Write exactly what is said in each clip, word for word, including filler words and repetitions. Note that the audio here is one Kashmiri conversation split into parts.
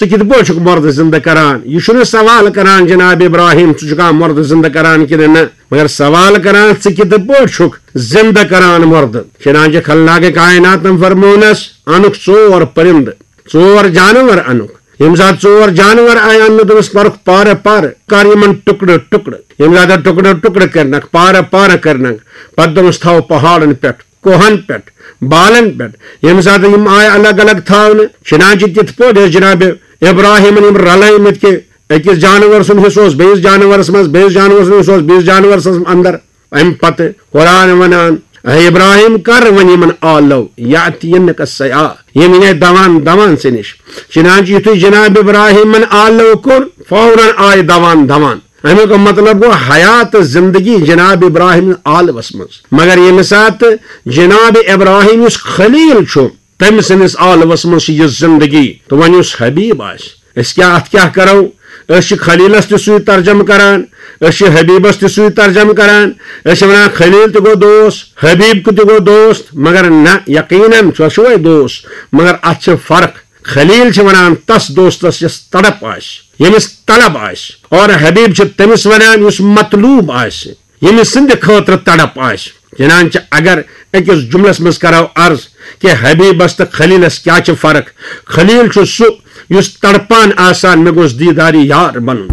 کِتھ پٲٹھۍ چھُکھ مردٕ زِندٕ کران؟ یہِ چھُنہٕ سوال کران جناب ابراہیم، ژٕ چھُکھا مردٕ زِندٕ کران کِنہٕ نہ، مگر سوال کران، ژٕ کِتھ پٲٹھۍ چھُکھ زِندٕ کران مردٕ؟ چنانچہ خلناک کائناتن فرمونس، انُکھ ژور پرندٕ، ژور جانور انُکھ۔ ییٚمہِ ساتہٕ ژور جانور آیہِ اننہٕ، دوٚپُس، کرُکھ پارٕ پارٕ، کر یِمن ٹُکڑٕ ٹُکڑٕ۔ ییٚمہِ ساتہٕ ٹُکڑٕ ٹُکڑٕ کٔرنکھ، پارٕ پارٕ کٔرنکھ، پتہٕ دوٚپُس، تھاو پہاڑن پٮ۪ٹھ، کوہن پٮ۪ٹھ، بالن پٮ۪ٹھ۔ ییٚمہِ ساتہٕ یِم آیہِ الگ الگ تھاونہٕ، چنانچہ تِتھ پٲٹھۍ ٲسۍ جناب ابراہیمن یِم رلٲومٕتۍ کہِ أکِس جانور سُنٛد حصہٕ اوس بیٚیِس جانورس منٛز، بیٚیِس جانور سُنٛد حصہٕ اوس بیٚیِس جانورس منٛز اندر۔ امہِ پتہٕ قرآن ونان، اے ابراہیم، کر وۄنۍ یِمن آلو، یاتینک السیاح، یِم یِنۍ دوان دوان ژےٚ نِش۔ چنانچہ یُتھُے جناب ابراہیمن آلو کوٚر، فوراً آیہِ دوان دوان۔ امیُک مطلب گوٚو، حیات، زندگی جناب ابراہیم آلوس منٛز۔ مگر ییٚمہِ ساتہٕ جناب ابراہیم یُس خلیل چھُ، تٔمۍ سٕنٛدِس عالمس منٛز چھِ یہِ زندگی۔ تہٕ وۄنۍ یُس حبیب آسہِ، أسۍ کیٛاہ، اتھ کیٛاہ کرو؟ أسۍ چھِ خلیلس تہِ سُے ترجمہٕ کران، أسۍ چھِ حبیبس تہِ سُے ترجمہٕ کران۔ أسۍ چھِ ونان، خلیل تہِ گوٚو دوست، حبیب تہِ گوٚو دوست، مگر نہ، یقیناً سُہ چھُ وۄنۍ دوست، مگر اتھ چھِ فرق۔ خلیل چھِ ونان تس دوستس یس تڑپ آسہِ، ییٚمِس طلب آسہِ، اور حبیب چھِ تٔمِس ونان یُس مطلوب آسہِ، ییٚمِس سٕنٛدِ خٲطرٕ تڑپ آسہِ۔ چنانچہ اگر أکِس جملس منٛز کرو عرض کہِ حبیبس تہٕ خلیلس کیٛاہ چھِ فرق؟ خلیل چھُ سُہ یُس تڑپان آسان، مےٚ گوٚژھ دیٖدارِ یار بنُن،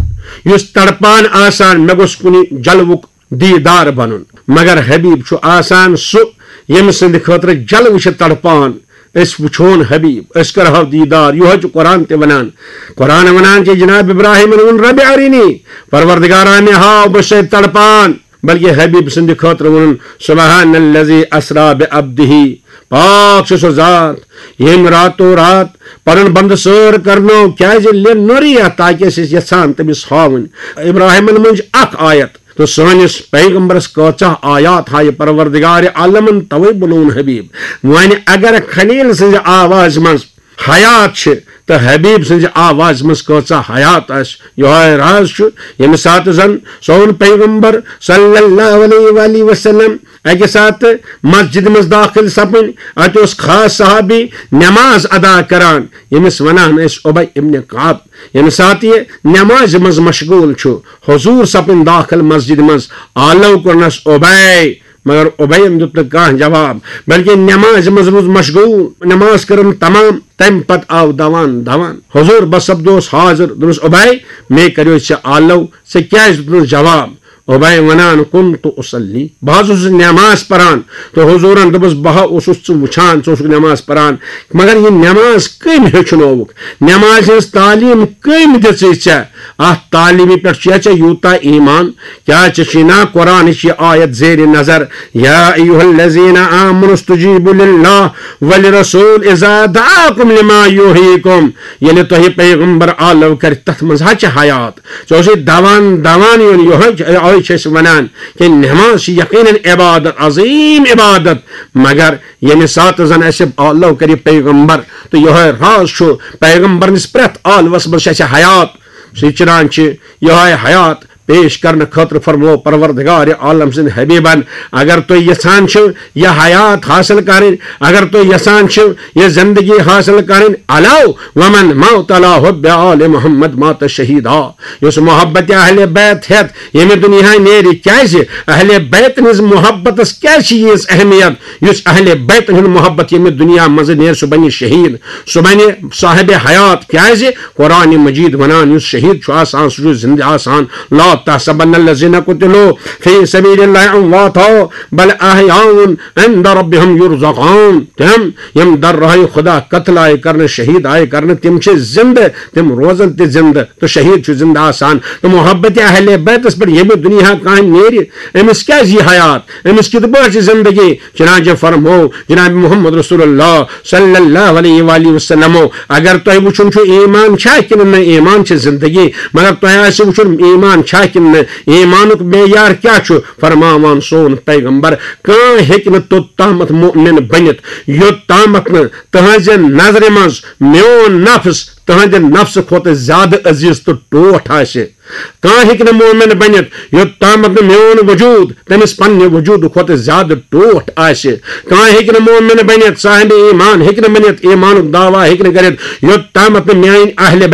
یُس تڑپان آسان، مےٚ گوٚژھ کُنہِ جلوُک دیٖدار بنُن۔ مگر حبیب چھُ آسان سُہ، ییٚمہِ سٕنٛدِ خٲطرٕ جلوٕ چھِ تڑپان۔ أسۍ وٕچھون حبیب، أسۍ کرہو دیٖدار۔ یِہوٚے چھُ قرآن تہِ ونان۔ قرآن ونان چھِ جناب ابراہیمن ووٚن، ربِ ارینی، پروردگارا، مےٚ ہاو، بہٕ چھُسے تڑپان۔ بلکہ حبیب سٕنٛدِ خٲطرٕ ووٚنُن، سبحان الذی اسرا بعبدہ، پاک چھُ سُہ ذات، ییٚمۍ راتو رات پنُن بندٕ سٲر کرنو، کیازِ؟ لِنُریہ، تاکہِ أسۍ ٲسۍ یژھان تٔمِس ہاوٕنۍ۔ ابراہیمن منٛز چھِ اکھ آیت، تہٕ سٲنِس پیغمبرس کۭژاہ آیات ہایہِ پروردگار عالمن، توے بُلوُن حبیب۔ وۄنۍ اگر خلیل سٕنٛزِ آوازِ منٛز حیات چھِ، تہٕ حبیب سٕنٛزِ آوازِ منٛز کۭژاہ حیات آسہِ۔ یِہوٚے راز چھُ، ییٚمہِ ساتہٕ زن سون پیغمبر صلی اللہ علیہ وآلہ وسلم اکہِ ساتہٕ مسجد منٛز داخل سپٕنۍ، اتہِ اوس خاص صحابی نماز ادا کران، ییٚمِس ونان ٲسۍ ابی ابن کعب۔ ییٚمہِ ساتہٕ یہِ نمازِ منٛز مشغول چھُ، حضور سپٕنۍ داخل مسجد منٛز، آلو کوٚرنس ابی، مگر ابیَن دیُت نہٕ کانٛہہ جواب، بلکہ نمازِ منٛز روٗد مشغول، نماز کٔرٕن تمام، تمہِ پتہٕ آو دوان دوان۔ حضور بس سپدوس حاضر، دوٚپُس، ابی، مے کریو ژےٚ آلو، ژےٚ کیازِ دیُت نہٕ جواب؟ ابی ونان، کنت اصلی، بہٕ حظ اوسُس نماز پران، تہٕ حضورن دوٚپُس، بہٕ ہا اوسُس ژٕ وٕچھان، ژٕ اوسُکھ نماز پران، مگر یہِ نماز کٔمۍ ہیٚچھنووُکھ؟ نمازِ ہٕنٛز تعلیٖم کٔمۍ دِژٕے ژےٚ؟ اتھ تعلیٖمہِ پٮ۪ٹھ چھُیا ژےٚ یوٗتاہ ایمان؟ کیٛاہ ژےٚ چھُے نا قرآنٕچ یہِ آیت زیرِ نظر، یا ایھا الذین آمنوا استجیبوا للہ ولرسول اذا دعاکم لما یحییکم، ییٚلہِ تۄہہِ پیغمبر آلو کرِ، تتھ منٛز ہا چھِ حیات۔ ژےٚ اوسُے دوان دوان یُن، یِہوٚے چھُ، یِہوٚے چھِ أسۍ ونان کہِ نماز چھِ یقیناً عبادت، عظیٖم عبادت، مگر ییٚمہِ ساتہٕ زن اسہِ آلو کرِ پیغمبر، تہٕ یِہوٚے راز چھُ پیغمبرنِس پرٛٮ۪تھ آلوس منٛز چھِ اسہِ حیات، سُہ چران چھِ یِہوٚے حیات۔ پیش کرنہٕ خٲطرٕ فرموو پروردگار عالم سٕنٛدۍ حبیبن، اگر تُہۍ یژھان چھِو یہِ حیات حٲصِل کرٕنۍ، اگر تُہۍ یژھان چھِو یہِ زندگی حٲصِل کرٕنۍ، علاو ومن موت علی حب آل محمد مات شہیدا۔ یُس محبت اہل بیت ہیتھ ییٚمہِ دُنیا نیرِ، کیازِ اہل بیتن ہٕنٛز محبتس کیازِ چھِ ییٖژ اہمیت؟ یُس اہل بیتن ہُنٛد محبت ییٚمہِ دُنیا منٛز نیرِ، سُہ بنہِ شہید، سُہ بنہِ صاحب حیات۔ کیازِ؟ قرآن مجید ونان، یُس شہید چھُ آسان، سُہ چھُ زندٕ آسان۔ لا تحسبن الذين قتلوا في سبيل الله امواتا بل احياء عند ربهم يرزقون۔ تِم یِم در راہِ خدا قتل آیہِ کرنہٕ، شہید آیہِ کرنہٕ، تِم چھِ زندٕ، تِم روزن تہِ زندٕ، تہٕ شہید چھُ زندٕ آسان۔ تہٕ محبت اہل بیتس پٮ۪ٹھ ییٚمہِ دُنیا کانٛہہ نیرِ، أمِس کیازِ یہِ حیات؟ أمِس کِتھ پٲٹھۍ چھِ زندگی؟ چنانچہ فرموو جناب محمد رسول اللہ صلی اللہ علیہ وآلہ وسلمو، اگر تۄہہِ وٕچھُن چھُ ایمان چھا کِنہٕ نہ، ایمان چھِ زندگی، مگر تۄہہِ آسہِ وٕچھُن ایمان چھا کِنہٕ نہ، ایمانُک معیار کیٛاہ چھُ؟ فرماوان سون پیغمبر، کانٛہہ ہیٚکہِ نہٕ توٚت تامَتھ مؤمن بٔنِتھ، یوٚت تامَتھ نہٕ تٕہٕنٛزِ نظرِ منٛز میون نفس تٕہٕنٛدِ نفسہٕ کھۄتہٕ زیادٕ عزیز تہٕ ٹوٹھ آسہِ۔ کانٛہہ ہیٚکہِ نہٕ مومن بٔنِتھ، یوٚت تامَتھ نہٕ میون وجود تٔمِس پننہِ وجودٕ کھۄتہٕ زیادٕ ٹوٹھ آسہِ۔ کانٛہہ ہیٚکہِ نہٕ مومن بٔنِتھ، صاحب ایمان ہیٚکہِ نہٕ بٔنِتھ، ایمانُک دعویٰ ہیٚکہِ نہٕ کٔرِتھ، یوٚت تامَتھ نہٕ میٲنۍ اہل